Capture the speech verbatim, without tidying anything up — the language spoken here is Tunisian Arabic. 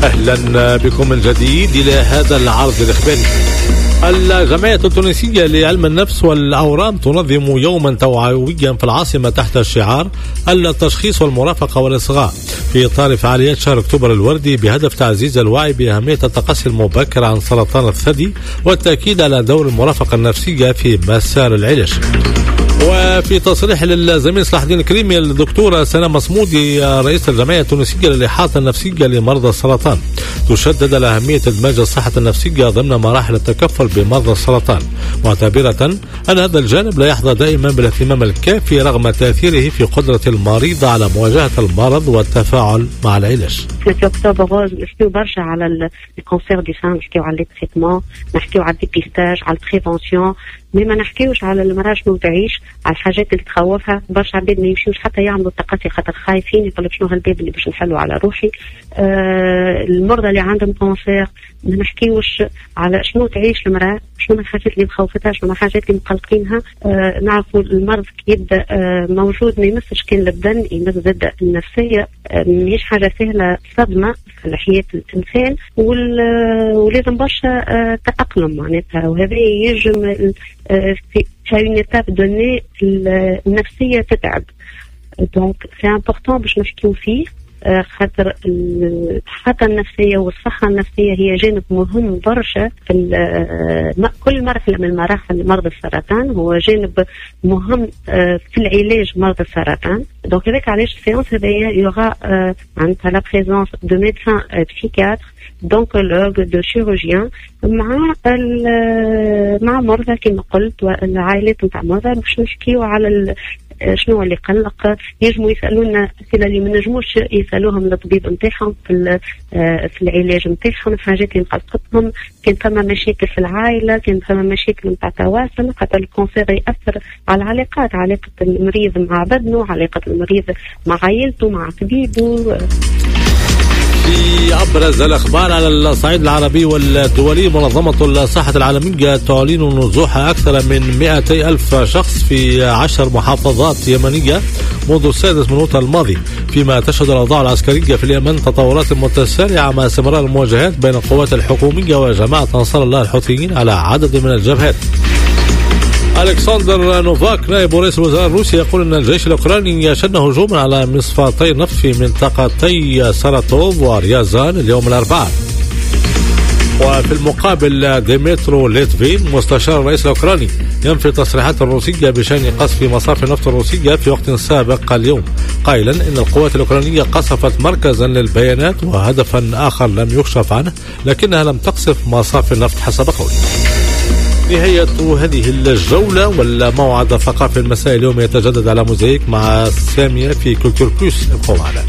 أهلا بكم من جديد إلى هذا العرض الإخباري. الجمعية التونسية لعلم النفس والأورام تنظم يوما توعويا في العاصمة تحت شعار التشخيص والمرافقة والإصغاء في إطار فعاليات شهر أكتوبر الوردي، بهدف تعزيز الوعي بأهمية التقصي المبكر عن سرطان الثدي والتأكيد على دور المرافقة النفسية في مسار العلاج. وفي تصريح للزميل صلاح الدين الكريمي، الدكتورة سناء مصمودي رئيس الجمعية التونسية للإحاطة النفسية لمرضى السرطان تشدد على أهمية إدماج الصحة النفسية ضمن مراحل التكفل بمرضى السرطان، معتبرة أن هذا الجانب لا يحظى دائما بالاهتمام الكافي رغم تأثيره في قدرة المريض على مواجهة المرض والتفاعل مع العلاج. في Octobre rose نحكيو برشا على ال cancer du sein، نحكيو على les traitements، نحكيو على ال dépistage، على ال prévention، mais ما نحكيوش على المراة شنو تعيش، على الحاجات اللي تخوفها. برشا عباد ما يمشيوش حتى يعملوا التقصي خاطر خايفين، يقول لك شنو هالباب اللي باش نحلوا على روحي. آه المرضى اللي عندهم cancer ما نحكيوش على شنو تعيش المراة، شنو من الحاجات اللي مخوفتها، شنو من الحاجات اللي مقلقينها. آه نعرفوا المرض كي يبدا آه موجود ما يمسش كان البدن، يمس زاد النفسيه. آه ماهيش حاجة سهله، صدمة في حياة الانسان، ولازم برشا آه تاقلم معناتها، وهذا يجم آه في une étape donnée النفسية تتعب. donc c'est important باش نحكيو فيه، خاطر الحالة النفسية والصحة النفسية هي جانب مهم برشا في كل مرحلة من مراحل مرض السرطان، هو جانب مهم في العلاج مرض السرطان. donc هذاك علاش ال séance هذايا il y aura معناتها la présence de médecins psychiatres، d'oncologues، de chirurgiens، مع مع مرضى كما قلت والعائلات نتاع مرضى، باش نحكيو على شنو اللي قلق. ينجموا يسالونا اسئلة اللي ما نجموش يسالوهم للطبيب نتاعهم في في العلاج نتاعهم، الحاجات اللي مقلقتهم، كان فما مشاكل في العائله، كان فما مشاكل نتاع تواصل، خاطر ال cancer ياثر على العلاقات، علاقة المريض مع بدنه، علاقة المريض مع عائلته، مع طبيبه. في أبرز الأخبار على الصعيد العربي والدولي، منظمة الصحة العالمية تعلن نزوح أكثر من مئتي ألف شخص في عشر محافظات يمنية منذ السادس من أوت الماضي، فيما تشهد الأوضاع العسكرية في اليمن تطورات متسارعة مع استمرار المواجهات بين القوات الحكومية وجماعة أنصار الله الحوثيين على عدد من الجبهات. ألكسندر نوفاك نائب رئيس الوزراء الروسي يقول أن الجيش الأوكراني شن هجوما على مصفاتي النفط في منطقتي ساراتوف وريازان اليوم الأربعاء. وفي المقابل ديمترو ليتفين مستشار الرئيس الأوكراني ينفي تصريحات الروسية بشأن قصف مصافي النفط الروسية في وقت سابق اليوم، قائلا إن القوات الأوكرانية قصفت مركزا للبيانات وهدفا آخر لم يكشف عنه، لكنها لم تقصف مصافي النفط حسب قوله. نهاية هذه الجولة، والموعد الثقافي المسائي اليوم يتجدد على موزايك مع سامية في Culture Plus. ابقوا معنا.